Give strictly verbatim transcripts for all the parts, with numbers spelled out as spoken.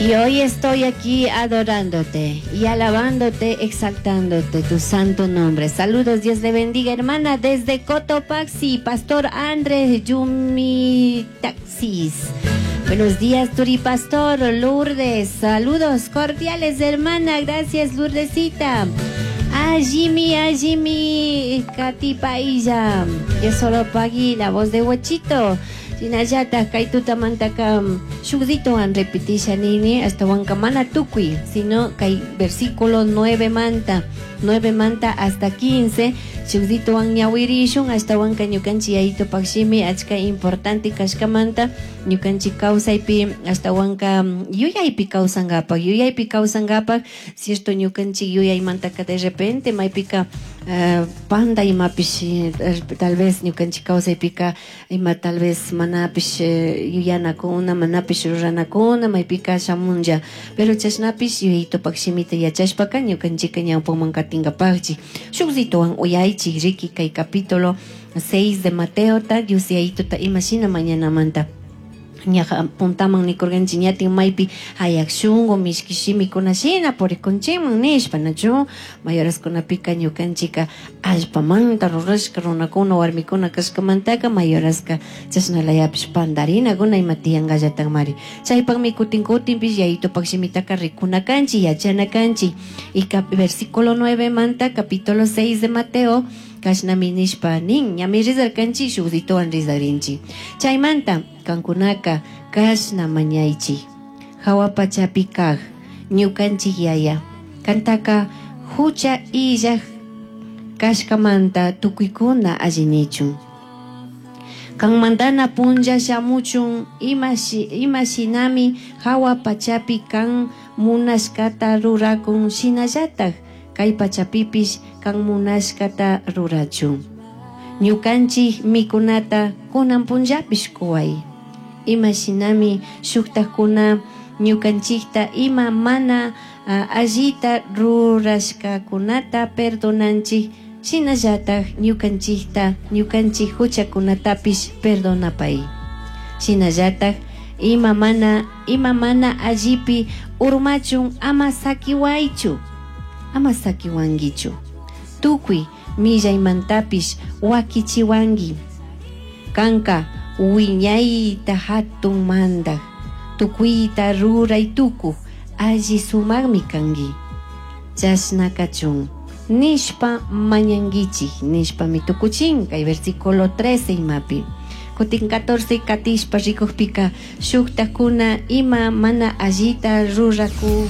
Y hoy estoy aquí adorándote y alabándote, exaltándote tu santo nombre. Saludos, Dios le bendiga, hermana, desde Cotopaxi, Pastor Andrés Yumi Taxis. Buenos días, Turi Pastor, Lourdes. Saludos cordiales, hermana. Gracias, Lourdesita. A Jimmy, a Jimmy, Katy Pailla. Yo solo pagui la voz de Huachito. Shinallata kay tutamantaka shukditowan repetisha nini ashtawanka mana tukuy, sino kay versículo nueve manta, nueve manta hasta quince, shukditowan ñawirishun ashtawanka ñukanchik yayitupak shimi achka importante kashkamanta ñukanchik kawsaypi ashtawanka yuyaypi kawsankapak, yuyaypi kawsankapak, cierto ñukanchik yuyaymantaka de repente maypika uh, panda imapish tal vez ñukanchik kawsaypika ima tal vez manapish yuyanakuna, manapish ruranakuna, maypika shamunlla, pero chashnapish yuyaytupak shimita yachashpaka ñukanchika ñawpaman katinkapakchik. Shukzituwan uyaychik riki kay capítulo seis de Mateota, Dios yayituta imashina mañanamanta. Ñaja puntaman nikurganchik ñatin maypi hayak shunku mishki shimikuna shina purikunchikman nishpa nachu mayoraskunapika ñukanchika allpamanta rurashka runakuna warmikuna kashkamantaka mayoraska chashnalayapish pandarinakuna ima tiyankallatakmari chaypakmi kutin kutinpish yayitupak shimitaka rikuna kanchik yachana kanchik. Y versículo nueve manta capítulo seis de Mateo kashnami nishpa nin ñami rizarkanchik shukdituwan rizarinchik chaymanta kankunaka kashna mañaychik hawa pachapi kaj ñukanchik yaya kantaka hucha illaj kashkamanta tukuykuna allinichun kanmantana punlla shamuchun imashinami hawa pachapi kan munashkata rurakun shinallataj kay pachapipish kan munashkata rurachun ñukanchik mikunata kunan punllapish kuway imashinami shuktakuna ñukanchikta ima mana uh, allita rurashkakunata perdonanchik shinallataj ñukanchikta ñukanchik huchakunatapish perdonapay shinallataj ima mana ima mana allipi urmachun ama sakiwaychu ama sakiwankichu tukuy millaymantapish wakichiwanki kanka wiñayta hatun mandaj tukuyta ruray tukuj alli sumakmi kanki chashna kachun nishpa mañankichik nishpami tukuchin kay versículo trece imapi kutin catorce katishpa rikukpika shuktakuna ima mana allita ruraku.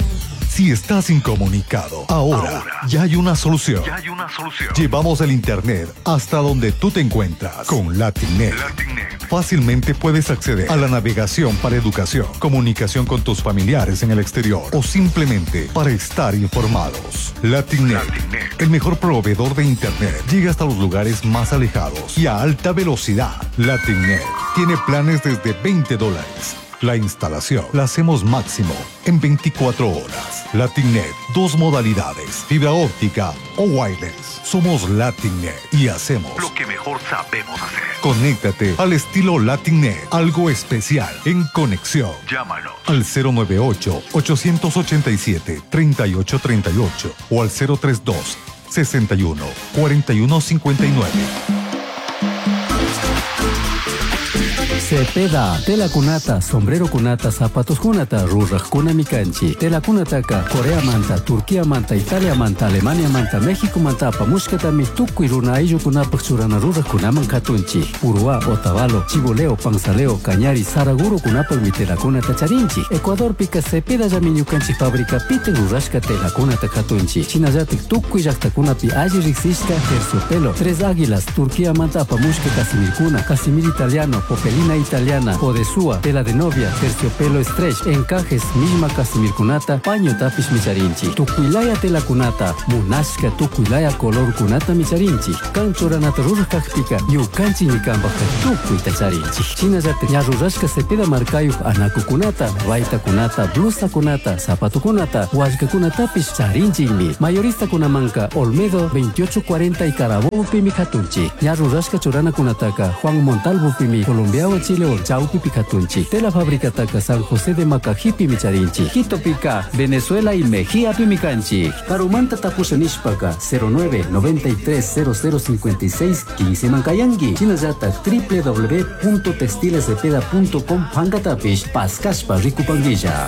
Si estás incomunicado, ahora, ahora ya hay una solución. Ya hay una solución. Llevamos el internet hasta donde tú te encuentras con LatinNet. LatinNet. Fácilmente puedes acceder a la navegación para educación, comunicación con tus familiares en el exterior o simplemente para estar informados. LatinNet, LatinNet, el mejor proveedor de internet, llega hasta los lugares más alejados y a alta velocidad. LatinNet tiene planes desde veinte dólares. La instalación la hacemos máximo en veinticuatro horas. LatinNet, dos modalidades, fibra óptica o wireless. Somos LatinNet y hacemos lo que mejor sabemos hacer. Conéctate al estilo LatinNet, algo especial en conexión. Llámanos al cero nueve ocho, ocho ocho siete, tres ocho tres ocho o al cero tres dos, sesenta y uno, cuarenta y uno cincuenta y nueve. Cepeda, tela kunata, sombrero kunata, zapatos kunata, rurajkuna mikanchi. Tela kunataka, Corea manta, Turquía manta, Italia manta, Alemania manta, México manta, apamushkatami tukuy runa ayllukunapaq churana rurajkunaman katunchi. Uruá, Otavalo, Chiboleo, Panzaleo, Cañari, Saraguro kunapaqmi telakunata charinchi. Ecuadorpika Cepeda llami ñukanchik fábrica piten rurashka telakunata katunchi. Shinallatik tukuy llaqtakunapi alli riqsishka terciopelo, Tres Águilas, Turquía manta apamushka casimirkuna, casimir italiano, popelina italiana, odesúa, tela de novia, terciopelo stretch, encajes, misma casimirkunata, paño tapish micharinchi, tukuilaya tela kunata, munashka tukuilaya color kunata micharinchi, kanchuranata rurajkajpika, ñukanchi ñikanpajka tukuyta charinchi. Shinallatak ña rurashka Cepeda markayuq anakukunata, baytakunata, blusakunata, zapatukunata, wallkakunatapish charinchikmi. Mayoristakunamanka Olmedo veintiocho cuarenta y Carabobo pimi katunchi. Ña rurashka churanakunataka Juan Montalvo pimi Colombiawan Cotopaxi León chawpipi katunchik. Tela fabricataka San José de Macajipimi charinchik. Quitopika Venezuela y Mejíapimi kanchik. Karumanta tapusha nishpaka cero nueve noventa y tres cero cero cincuenta y seis quince mankayanki. Shinallatak w w w punto textilescepeda punto com pankatapish paskashpa rikupankilla.